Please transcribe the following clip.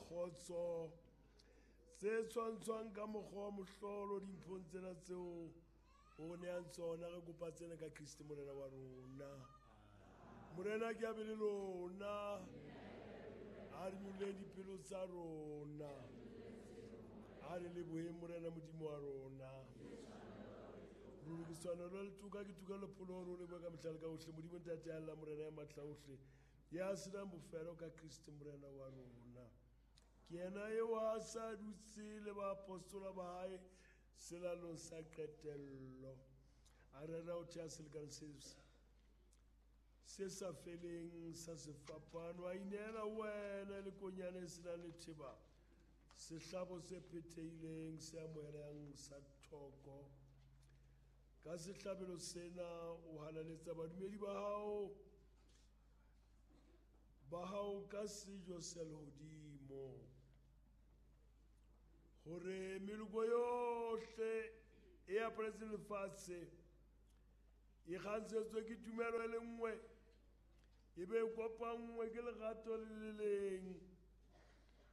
Kgotso tse tshwantshwang ka mokgwa wa mohlolo dimphong tsena tseo o neang tsona. Re kopa tsena ka Kriste Morena wa rona. Morena ke abe le lona. A re nyolleng dipelo tsa rona. A re leboheng Morena Modimo wa rona. Ruri ke tshwanelo le toka, ke toka le pholo hore o lebohe ka mehla le ka hohle, Modimo Ntate ya lla, Morena ya matla ohle, ya senang bofelo, ka Kriste Morena wa rona. Ke yena eo a sa dutse le baapostola ba hae selalong sa qetello, a rera ho thea selekane se sa feleng sa sefapano, a ineela wena le konyana e senang letheba, sehlabo se phethehileng se amohelang sa thoko. Ka sehlabelo sena o halaletsa badumedi ba hao ka sejo sa lehodimo, hore meloko yohle e aparetseng lefatshe e kgantshetswe ke tumelo e le nngwe, e be e kopanngwe ke lerato le le leng.